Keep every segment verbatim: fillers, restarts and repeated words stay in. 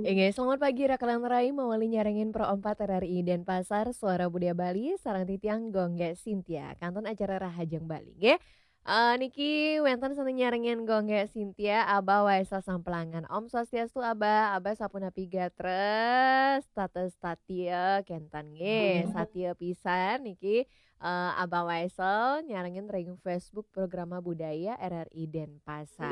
Inggih, selamat pagi, Raka lan Rai, mawali nyarengin Pro empat R R I Denpasar, Suara Budaya Bali, sareng titiang Gung Gé Sintia. Kantun acara Rahajeng Bali, nggih. Eh, niki wénten sané nyarengin Gung Gé Sintia, Abah Waisel Samplangan. Om Swastiastu, Abah. Abah sapunapi gatra, status satia kénten, nggih. Satia pisan niki, eh, Abah Waisel nyarengin ring Facebook Programa Budaya R R I Denpasar.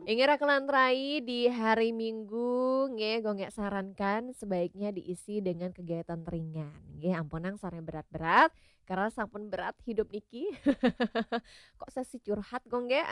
Inggih, Raka lan Rai, di hari Minggu, nggih, Gung Gé sarankan sebaiknya diisi dengan kegiatan ringan. Nggih, ampunang sané berat-berat, karena sampun berat hidup niki. Kok sesi curhat, Gung Gé?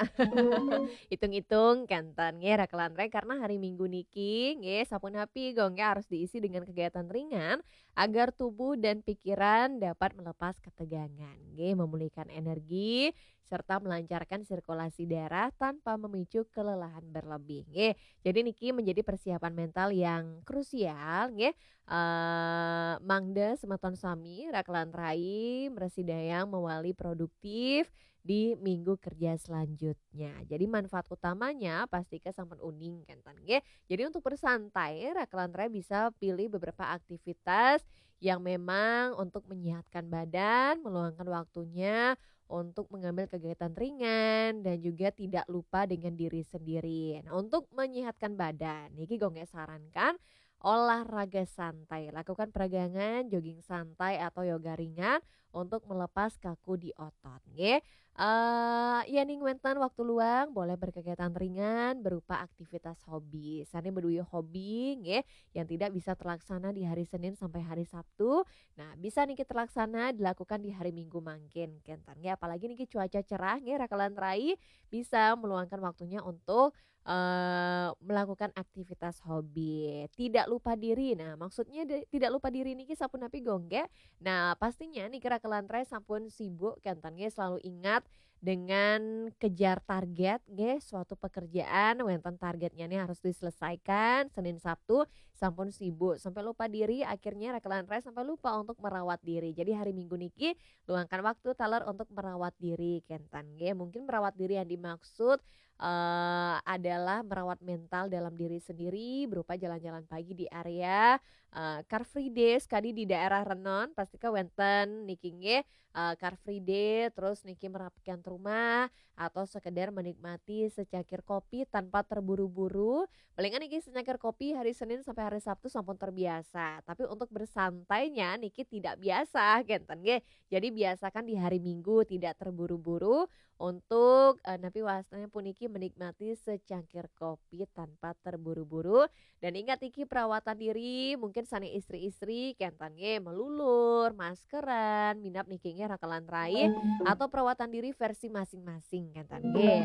Hitung-hitung, kénten, nggih, Raka lan Rai, karena hari Minggu niki, nggih, sapunapi, Gung Gé, harus diisi dengan kegiatan ringan agar tubuh dan pikiran dapat melepas ketegangan, nggih, memulihkan energi, serta melancarkan sirkulasi darah tanpa memicu kelelahan berlebih, nggih. Jadi niki menjadi persiapan mental yang krusial, nggih. Eh, mangda semeton sami, Raka lan Rai, mrasidayang mawali produktif di minggu kerja selanjutnya. Jadi manfaat utamanya pastika sampun uning, kénten, nggih. Jadi untuk bersantai, Raka lan Rai bisa pilih beberapa aktivitas yang memang untuk menyehatkan badan, meluangkan waktunya untuk mengambil kegiatan ringan, dan juga tidak lupa dengan diri sendiri. Nah, untuk menyehatkan badan, niki Gung Gé sarankan olahraga santai, lakukan peregangan, jogging santai atau yoga ringan untuk melepas kaku di otot, nggih. Eh, yéning wénten waktu luang, boleh berkegiatan ringan berupa aktivitas hobi. Sané beduwe hobi, nggih, yang tidak bisa terlaksana di hari Senin sampai hari Sabtu, nah, bisa niki terlaksana dilakukan di hari Minggu mangkin, kénten, nggih. Apalagi niki cuaca cerah, nggih, Raka lan Rai, bisa meluangkan waktunya untuk, eh, melakukan aktivitas hobi. Tidak lupa diri. Nah, maksudnya de-, tidak lupa diri niki sapunapi, Gung Gé? Nah, pastinya niki, Raka lan Rai, sampun sibuk, kénten, nggih, selalu ingat dengan kejar target, nggih, suatu pekerjaan wénten targetnya nih harus diselesaikan Senin Sabtu, sampun sibuk sampai lupa diri, akhirnya Raka lan Rai sampai lupa untuk merawat diri. Jadi hari Minggu niki luangkan waktu taler untuk merawat diri, kénten, nggih. Mungkin merawat diri yang dimaksud, eh, adalah merawat mental dalam diri sendiri berupa jalan-jalan pagi di area, eh, Car Free Day, sekali di daerah Renon, pastika wénten niki, nggih, eh, Car Free Day, terus niki merapikan rumah, atau sekedar menikmati secangkir kopi tanpa terburu-buru. Palingan niki secangkir kopi hari Senin sampai hari Sabtu sampun terbiasa, tapi untuk bersantainya niki tidak biasa, kénten, nggih. Jadi biasakan di hari Minggu tidak terburu-buru untuk, eh, napi wastannya puniki menikmati secangkir kopi tanpa terburu-buru. Dan ingat niki perawatan diri, mungkin sané istri-istri, kénten, nggih, melulur, maskeran, minab niki, nggih, Raka lan Rai, atau perawatan diri versi masing-masing, kénten, nggih.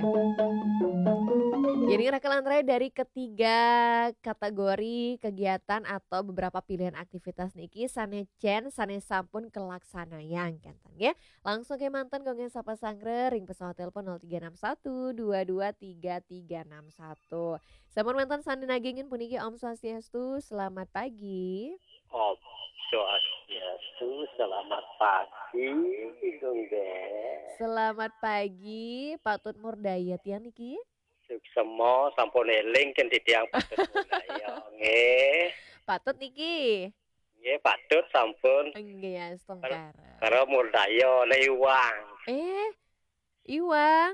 Jadi Raka lan Rai, dari ketiga kategori kegiatan atau beberapa pilihan aktivitas niki sané cén, sané sampun kalaksanayang, kénten, nggih. Langsung kémanten Gung Gé sapa sanggra ring pesawat telepon nol tiga enam satu dua dua tiga tiga enam satu. Sampun wénten sané nagingin puniki, Om Swastiastu, selamat pagi. Om Swastiastu, selamat pagi, Gung Gé. Selamat pagi, Pak Tut Murdaya tiang niki. Suksma, sampun éling kén titiang Pak Tut Murdaya, nggih. Pak Tut niki. Nggih, Pak Tut sampun. Nggih, astungkara. Karo Murdaya, né Iwang. Eh, Iwang.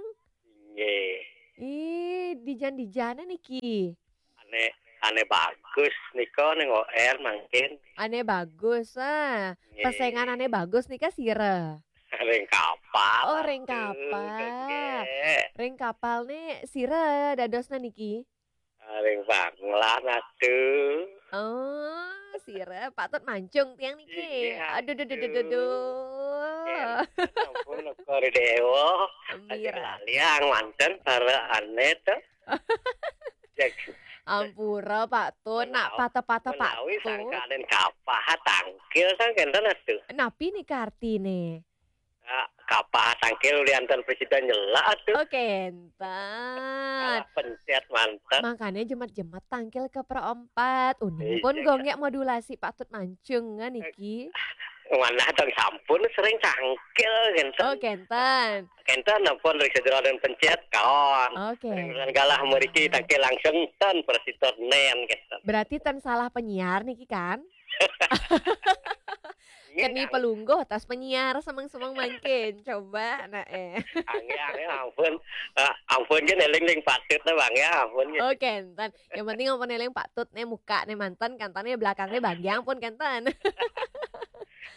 Nggih. Ih, dijan-dijané niki. Ané, Ané Bagus nika ning O R mangkin. Ané Bagus, ah. Nggih. Pesengan Ané Bagus nika sira? Ring kapal. Oh, ring kapal. Nggih. Ring kapal né sira dadosna niki? Ring Banglan, aduh. Oh, sira Pak Tut Mancung tiang niki. Nggih, aduh, duh, duh, duh, duh, duh. Nggih, ampun, Kori Dewa. Aja laliang manten para ané to. Cek. Ampura, Pak Tut, nak patah-patah, Pak Tut. Menawi sangkaning kapah tangkil, sangkénten, aduh. Napi nika artiné? Kak, kapah tangkil ulianten presiden nyelak, aduh. Oh, kénten. Kalah pencét manten. Makané jemet-jemet tangkil ke perempat. Uning pun, iya, Gung Gé, modulasi Pak Tut Mancung, kan, niki. Manah tong sampun sering tangkil kenten. Oh, kenten. Kenten ampun ring sajeroning pencet kaon. Oke. Ring galah mriki tangkil langsung ten prasida nen kenten. Berarti ten salah penyiar niki kan? Iya, keni kan? Pelungguh tas penyiar semeng-semeng mangkin. Coba nah eh. Anggih, anggih, ampun. Ah, ampun kan eling ring patut nah Bang ya, ampun. Oh, kenten. Yang penting ampun eling patut nih muka nih manten kenten nih belakangnya bagian pun kenten.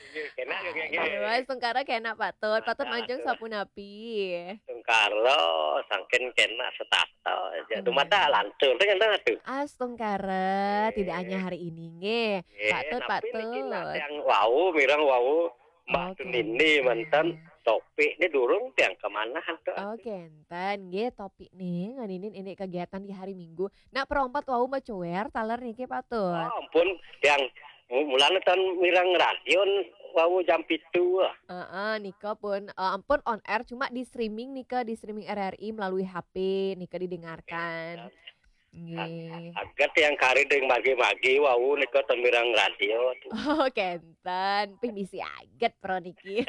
Iya, kena juga, nggih. Aduh, astungkara kena patut. Patut mancung sapunapi? Astungkara, sangkin kena setata aja. Hmm. Dumadak lantur, kan, kan, aduh. Astungkara, tidak hanya hari ini, nggih. Nggih, patut, napi niki patut. Nah, tiang wau, mireng wau, Mbak Oke. Tunini, manten, topik ni durung tiang kemana, tuh, aduh. Oke, enten, nggih, topik ni, nganinin ini kegiatan di hari Minggu. Nak perompat wau macuer, taler niki patut. Oh, ampun, tiang mu-, mulane tan mireng radio wau jam pitu. Heeh, nika pun, eh, ampun on air, cuma di streaming nika, di streaming R R I melalui H P nika didengarkan. Nggih. Ag-, aget yang kari ding magi-magi wau nika tan mireng radio. Oh, kenten. Pih misi aget pro niki.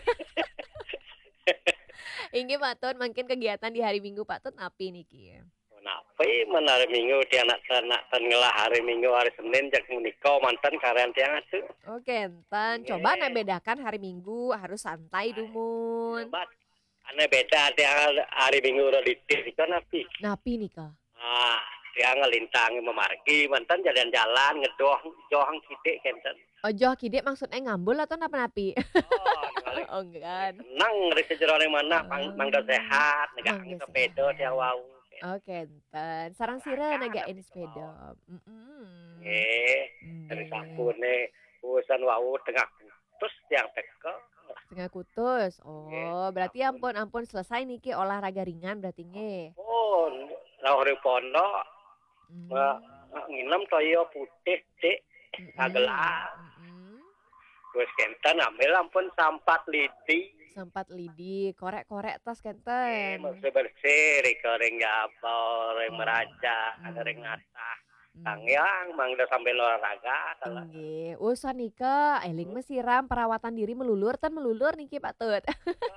Inggih patut, mangkin kegiatan di hari Minggu patut napi niki? Napi men hari Minggu tiang nak, nak tan ngelah hari Minggu, hari Senin jak menika manten karen tiang atu. Oh, kenten. Nggih. Coba nak bedakan hari Minggu harus santai dumun. Coba ane beda tiang hari Minggu ro ditih nika napi? Napi nika? Ah, tiang ngelintang memargi manten jalan-jalan ngedoh joh kidik kenten. Oh, joh kidik maksudnya ngambul atau napa napi? Oh, ngalih. Oh, enggak. Seneng ri sajeroning manah, mang-, mangda sehat, negak sepeda tiang wau. Oh, kenten. Sarang sira negak sepeda. Mm-mm. Nggih. Nggih. Dari sapune urusan wau tengah kutus tiang teka. Tengah kutus. Oh, nggih, berarti ampun, ampun selesai niki olahraga ringan berarti nggih. Oh, rauh ring pondok. Hmm. Mbak, nginem toya putih, Dik. Mm-mm. Sagelas. Mm-mm. Terus kenten ambil ampun sampat lidi. Sampat lidi, korek-korek tas kenten. Nggih, bersih-bersih, rika ring jaba, ring meraja, ring atah. Hmm. Sangyang, mangda sambil olahraga, salah. Nggih, usan nika, eling mesiram perawatan diri melulur, tan melulur niki patut.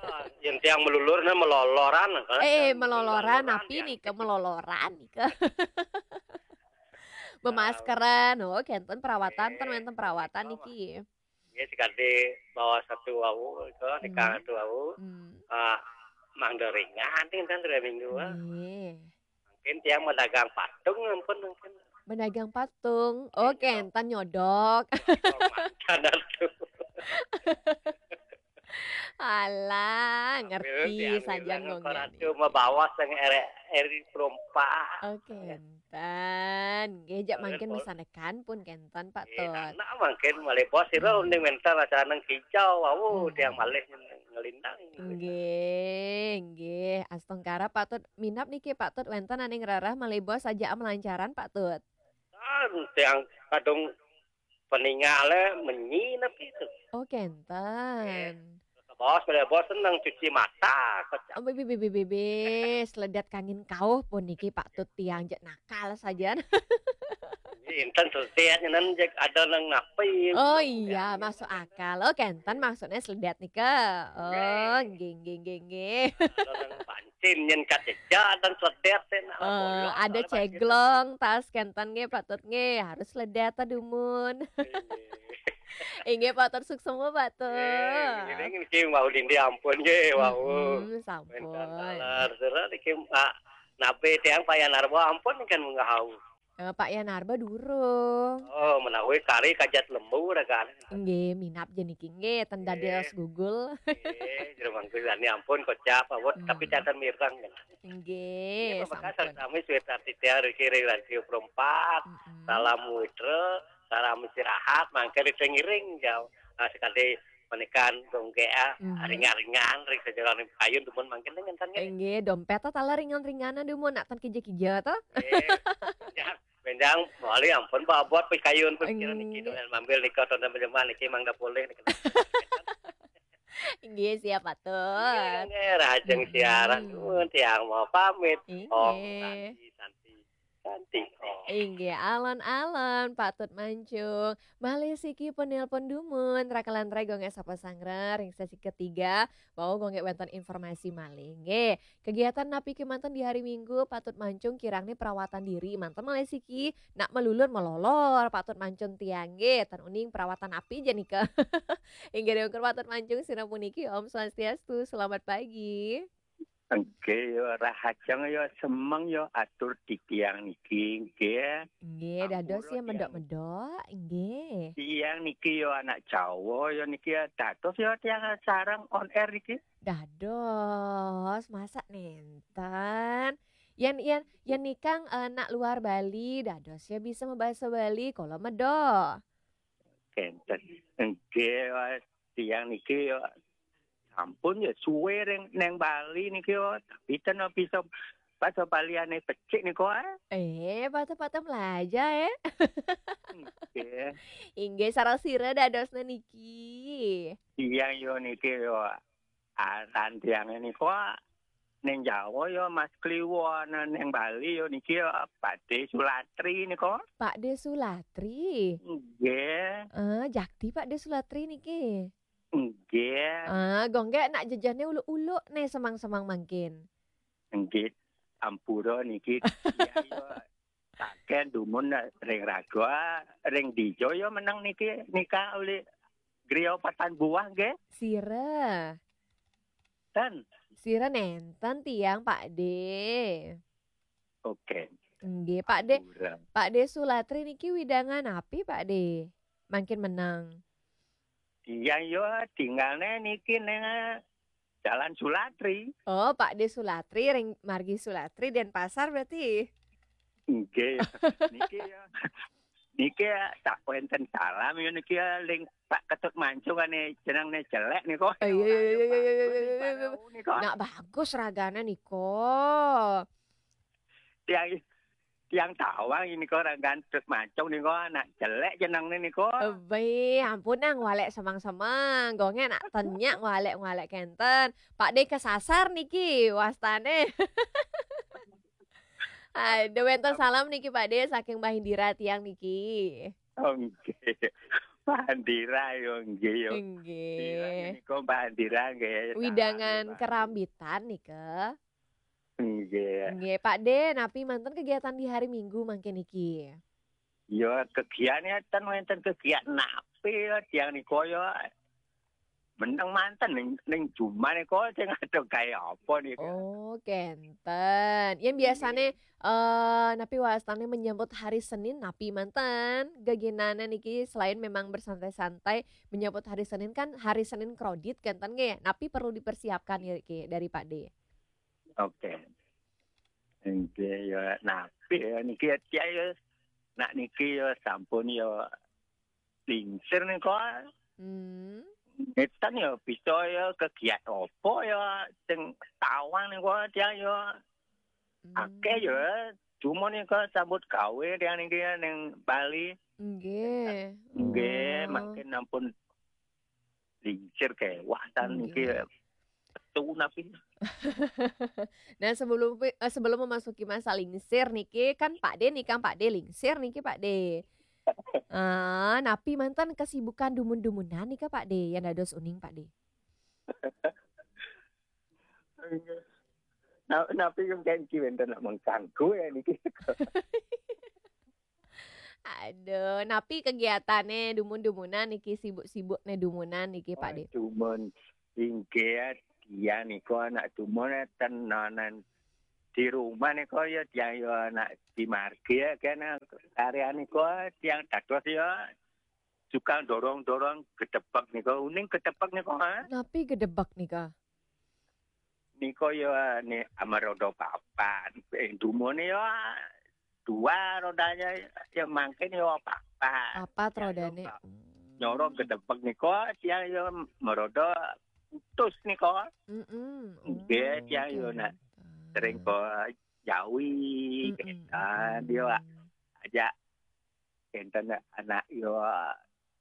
Ah, yen tiang melulur, nah, meloloran, kan? Eh, meloloran, meloloran, napi ya. Nika meloloran nika. Bemaskeran, oh, kenten perawatan, ten wenten perawatan niki. Nggih, sekali bawa satu wau, itu, hmm, nikah satu wau. Hmm. Ah, mangda ringan, enten dua minggu, ah. Nggih. Mungkin tiang medagang patung, ampun, mungkin. Medagang patung. Oh, nggih, kenten nyodok. Manten atu. Alah, ngerti saja ngomongnya. Ratu mabawas yang eri, eri perompak. Oh, kenten. Nggih, jak mangkin misanekan pun kenten, Pak Tut. Nggih, anak mangkin malih bos, sira uning mental acara nang kijau, wau, hmm, tiang malih ngelintang. Nggih, nggih. Astungkara, Pak Tut. Minab niki, Pak Tut, wenten aning rereh malih bos saja melancaran, Pak Tut. Kan tiang kadung peningale menyi napi tu. Oh, kenten. Nggih. Bos, pada bos seneng cuci mata, kocak. Oh, bebe, bebe, bebe. Seledat kangin kauh pun niki Pak Tut tiang jak nakal saja. Inten seledat nyenan jak ada nang napi. Oh iya, masuk akal. Oh, kenten maksudnya seledat nika. Oh, nggih, nggih, nggih, nggih. Ada nang pancin nyen kaceja dan seledat teh nak. Eh, bolong, ada ceglong, tas kenten nggih, Pak Tut nggih, harus seledat ta dumun. Nggih. Inggih, Pak Tut, suksma, Pak Tut. Nggih, nggih, niki wau lindi ampun nggih, wau. Mm-mm, sampun. Wenten taler, sira niki, Pak, nabe tiang Pak Yanarba ampun kan munggah wau. Eh, Pak Yanarba durung. Oh, menawi kari kajat lembu ragan. Nggih, minab ja niki nggih, ten dados gugul. Nggih, jero mangku sani ampun kocap, awet, tapi catet mireng kan. Nggih, nggih, sampun. Sami Swita Titiar iki ring Radio Perempat. Mm-mm. Salam Widra, salam istirahat, mangke ring ngiring jauh. Nah, sekali menika dongke, ah, ringan-ringan, ring sajeroning kayun dumun mangkin ngenten nggih. Nggih, dompet ta taler ringan-ringan dumun, nak ten kija-kija ta. Nggih. Ya, benjang mali ampun, Pak, abot pikayun, pikiran niki, nggih, dengan mambil nika, tonton penjemuan niki, mangda polih niki. Nggih, siap, Pak Tut. Nggih, nggih, rahajeng siaran, dumun, tiang mau pamit. Nggih. Om Santi, Santi, Santi, Om. Inggih, alon-alon, Pak Tut Mancung. Malih siki penelpon dumun, rakalan rai Gung Eka sapa sanggra ring sesi ketiga, wau Gung Eka wénten informasi malih. Nggih, kegiatan napi kémanten di hari Minggu, Pak Tut Mancung kirang nih perawatan diri, manten malih siki, nak melulur melolor, Pak Tut Mancung tiang nggih, ten uning perawatan napi ja nika. Inggih, dewek Pak Tut Mancung, sira puniki, Om Swastiastu, selamat pagi. Nggih, ya, rahajeng, ya, semeng, ya, atur titiang niki, nggih. Nggih, dados Ampura ya tiang. Medok-medok, nggih. Tiang niki, ya, anak Jawa, ya, niki, ya, dados, ya, tiang sareng on air niki. Dados, masa nenten? Yen, yen, yen nikang, eh, nak luar Bali, dados ya bisa mabasa Bali, kula medok. Kenten. Nggih, Mas. Tiang niki ya sampun ya suwe ring neng Bali niki ya, tapi ten bisa basa Baliane becik niku, ah. Eh, patut-patut melaja, eh. Nggih. Inggih, sareng sira dadosna niki. Tiang yo niki yo, aran tiange niku, ah, neng Jawa yo Mas Kliwon, neng Bali yo niki yo Pak De Sulatri niku. Pak De Sulatri? Nggih. Eh, jakti Pak De Sulatri niki? Nggih. Ah, Gung Eka nak jejehne uluk-uluk ne semang-semang mangkin. Nggih. Ampura niki. Iya, iya. Saken dumun ring raga, ring dija ya meneng niki nika uli griya patan buah nggih. Sira. Ten. Sira nenten tiang, Pak De. Oke. Nggih, Pak De. Ampura. Pak De Sulatri niki widangan napi, Pak De? Mangkin meneng. Iya, yo, tinggalne niki neng Jalan Sulatri. Oh, Pak De Sulatri, ring margi Sulatri, Denpasar berarti? Nggih. Niki ya. Niki ya, tak wenten salam ya niki ya, ling Pak Ketut Mancung ane jenengne jelek niku. Eh, iya, iya, iya, iya, iya, iya, iya, iya. Bagus niku. Nak bagus ragane niku. Tiang, tiang tawang ini kok orang gantut Mancung niku, anak jelek jenengne niku. Ebe, ampun nang walek semang-semang. Gonge nak tenyak walek-walek kenten. Pak De kesasar niki wastane. Aduh, wenten salam niki Pak De saking Mbah Indira tiang niki. Oh, nggih. Mbah Indira yo nggih yo. Nggih. Indira niku Mbah Indira nggih. Widangan salam, Mbah. Kerambitan nika. Nggih. Nggih, Pak De, napi manten kegiatan di hari Minggu mangkin niki? Ya, kegiatan ten wenten kegiatan napi ya, tiang niku ya. Meneng manten ning, ning jumah niku sing ada gawe apa niku? Oh, kenten. Yen biasane, eh, napi wastane menyambut hari Senin, napi manten geginane niki selain memang bersantai-santai, menyambut hari Senin kan hari Senin kredit kenten nggih. Napi perlu dipersiapkan niki dari Pak De? Oke. Nggih ya, napi ya niki ya, ya, nak niki ya sampun ya lingsir nika. Hmm. Ngeten ya bisa ya kegiatan apa ya sing tawang nika tiang ya. Hmm. Akeh ya, cuma nika sambut gawe tiang niki ya ning Bali. Nggih. Nggih, oh. Mangkin ampun lingsir kewah tan niki. Nggih. Metu napi. Nah, sebelum pi-, eh, sebelum memasuki masa lingsir niki, kan Pak De nih, kan Pak De lingsir niki, Pak De. Ah, napi manten kesibukan dumun-dumunan nika, Pak De, yang dados uning, Pak De? Na-, napi kan niki wenten nak mengganggu ya niki. Aduh, napi kegiatane dumun-dumunan niki, sibuk-sibukne dumunan niki, Pak De? Oh, dumun. Inggih, tiang niku anak dumun ten nonen di rumah niku ya tiang ya anak di margi ya kene karya niku tiang dados ya tukang dorong-dorong gedebek niku. Uning gedebek niku, ha? Napi gedebek nika? Niku ya ni amaroda papat. Eh, dumune ya dua rodanya ya mangkin ya papat. Papat ya, rodane. Ya, hmm. Nyorong gedebek niku tiang ya meroda putus niku. Mm-mm. Nggih, oh, tiang ya nak kenten. Sering ke Jawi, mm-mm, kenten. Mm-mm. Dia ajak kenten anak ya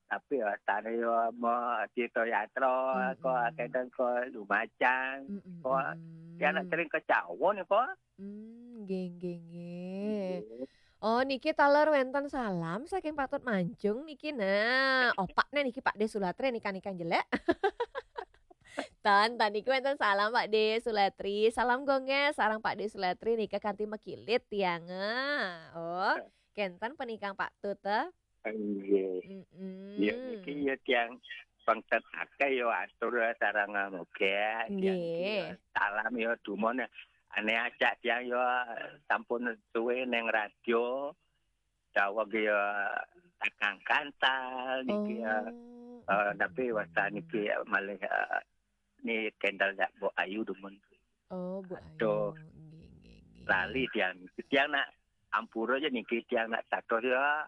tapi ya tane ya mau Tirta Yatra, mm-mm, kok kenten kok Lumajang, mm-mm, kok mm-mm. Ya nak sering ke Jawa niku. Hmm, nggih, nggih, nggih. Nggih. Oh, niki taler wénten salam saking Pak Tut Mancung niki. Nah, opakné niki Pak Dé Sulatri nika-nika jelek. Tan, tan niki wénten salam Pak Dé Sulatri. Salam gonggé sareng Pak Dé Sulatri nika kanthi makilit tiang. Oh, kénten penikang Pak Tut, eh. Nggih. Mm-mm. Ya niki ya tiang pengtet akeh ya atur sareng moga tiang niki ya. Nggih. Salam ya dumun, ane ajak tiang ya sampun suwe neng radio. Daweg ya takang kantal niki ya. Oh, eh, tapi mm-mm. Wasta niki ya malih, eh, ni kendal ya Mbok Ayu dumun. Oh, Bu Aduh. Ayu. Nggih, nggih, nggih. Lali tiang. Tiang nak ampura ya niki tiang nak dados ya.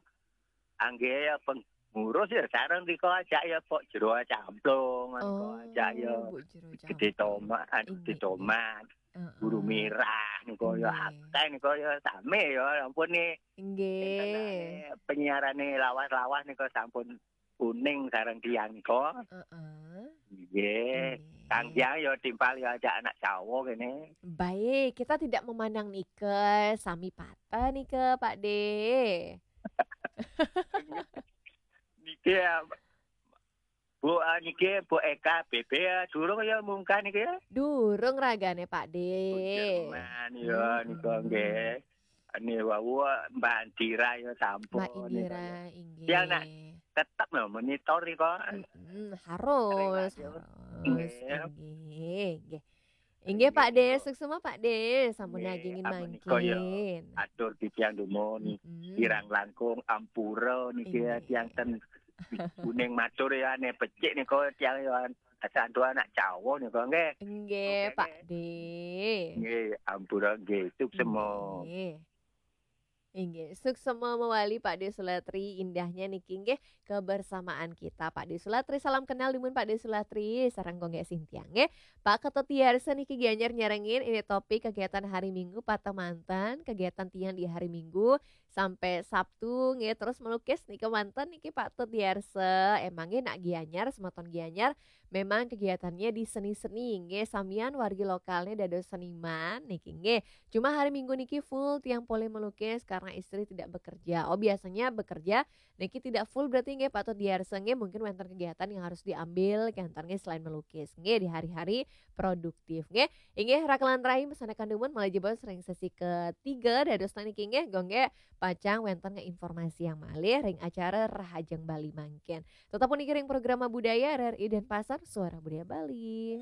Angge ya pengurus ya sareng niko ajak ya Pok Jero Camplung niko ajak ya. Oh, Bu Jero Gede Camplung. Tomat, anu Gede Inggih, inggih. Tomat. Heeh. Guru Mirah niko ya Inggih. Akeh niko ya sami ya ampun nih. Inggih. Penyiarane lawas-lawas niko sampun kuning sareng tiang niko. Heeh. Nggih. Nggih. Kang Jang ya timpal ya ajak anak Jawa kene. Baik, kita tidak memandang nike, sami patah nike, Pak De. Niki ya, Bu, ah, niki Bu Eka B B ya, durung ya mungkah niki ya? Durung ragane, Pak De. Bu Jerman ya, nika nggih. Ini wau Mbak Indira ya sampun Mbak nika Indira, ya. Inggih. Ya, nak tetep lho monitor nika. Mm-mm, harus, harus. Nggih. Inggih, inggih. Inggih, Pak De, inggih. Suksma, Pak De, sampun nggih, nagingin amun nika ya mangkin. Atur titiang dumun, mm-mm. Kirang langkung ampura niki ya, inggih. Tiang ten kuning matur ya, ane becik nika tiang ya, santuan anak Jawa nika nggih. Nggih, oke, Pak nggih. De. Nggih, ampura nggih, suksma. Nggih. Inggih, suksma mawali Pak De Sulatri, indahnya niki nggih kebersamaan kita Pak De Sulatri. Salam kenal dumun Pak De Sulatri, sareng Gonggé Sintiang nggih. Pak Ketut Yarsa niki Gianyar nyarengin ini topik kegiatan hari Minggu patah mantan, kegiatan tiang di hari Minggu sampai Sabtu nggih, terus melukis niki mantan niki Pak Tut Yarsa. Emang nggih nak Gianyar, semeton Gianyar, memang kegiatannya di seni-seni nggih, samian wargi lokalnya dados seniman niki nggih. Cuma hari Minggu niki full tiang polih melukis karena istri tidak bekerja. Oh, biasanya bekerja niki tidak full berarti nggih Pak Tut Yarsa nggih, mungkin wénten kegiatan yang harus diambil kantor nggih selain melukis nggih di hari-hari produktif nggih. Inggih rakelan rahim pesanakan dumun malih jebos ring sesi ketiga dados niki nggih Gonggé pacang wénten nggih informasi yang malih ring acara Rahajeng Bali mangkin. Tetap niki ring program Budaya R R I Denpasar, Suara Budaya Bali.